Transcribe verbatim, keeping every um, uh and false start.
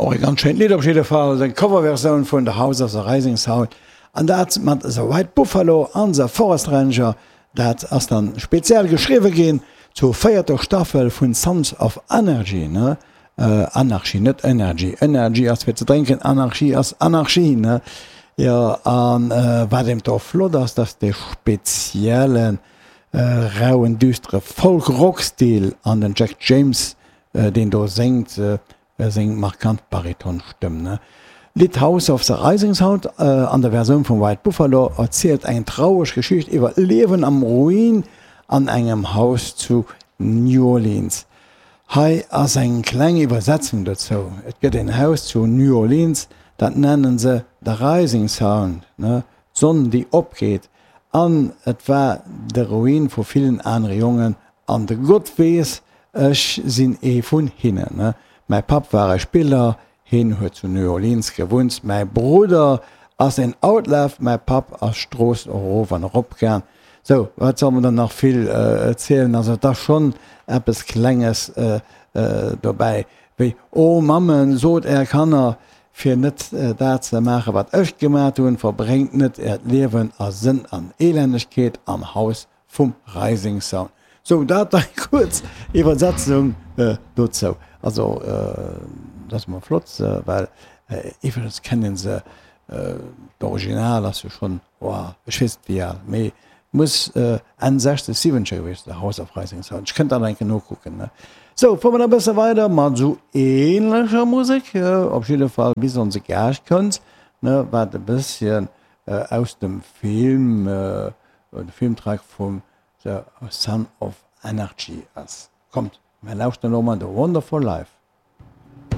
Och e ganz schéint Lidd op jidde Fall, seng Coverversioun vun The House of the Rising Sound an dat mat The White Buffalo an The Forest Ranger. Dat ass dann speziell geschriwwe ginn zur véierter Staffel vun Sons of Anarchy, ne? Anarchy, net Energy. Energy ass fir ze drénken, Anarchy ass Anarchie, ne? Jo, an wat eben och flott ass, dass dee speziellen rauen, düstere Folk-Rock-Stil an den Jack James, deen do séngt, seng markant Baritonstëmm, ne? D'Lidd House of the Rising Sound an der Versioun vum White Buffalo erzielt eng traureg Geschicht iwwer d'Liewen am Ruin an engem Haus zu New Orleans. Hei ass eng kleng Iwwersetzung dozou, Et gëtt een Haus zu New Orleans, dat nennen se The Rising Sound, ne, d'Sonn déi opgeet, an et war de Ruin vu villen anere Jongen, an de Gott weess, ech sinn ee vun hinnen, ne. Mäi Papp war e Spiller, hien huet zu New Orleans gewunnt, mäi Brudder ass een Outlaw, mäi Papp ass d'Strooss erof an erop gaang. Sou, wat soll mer dann nach vill zielen? Also et ass schonn eppes Klenges dobäi, wéi, O Mammen, sot är Kanner, fir net dat ze maachen, wat ech gemat hunn, verbréngt net äert Liewen a Sënn an Elendegkeet am Haus vum Rising Sun. Sou, dat eng kuerz Iwwersetzung dozou. Also dat ass emol flott, well iwwregens kennen se d'Original ass jo schonn, oh, ech weess net wéi al, mee muss Enn sechzeg, siwwenzeger gewiescht sinn, House of Rising Sun. Ech kënnt dat eng Kéier nokucken. Sou, fuere mer da e bësse weider mat esou ähnlecher Musek, op jidde Fall bis onse Gaascht kënnt, ne, wat e bësschen aus dem Film, de Filmtrack vum The Son of Anarchy ass. Kommt, mer lauschteren elo mol The Wonderful Life.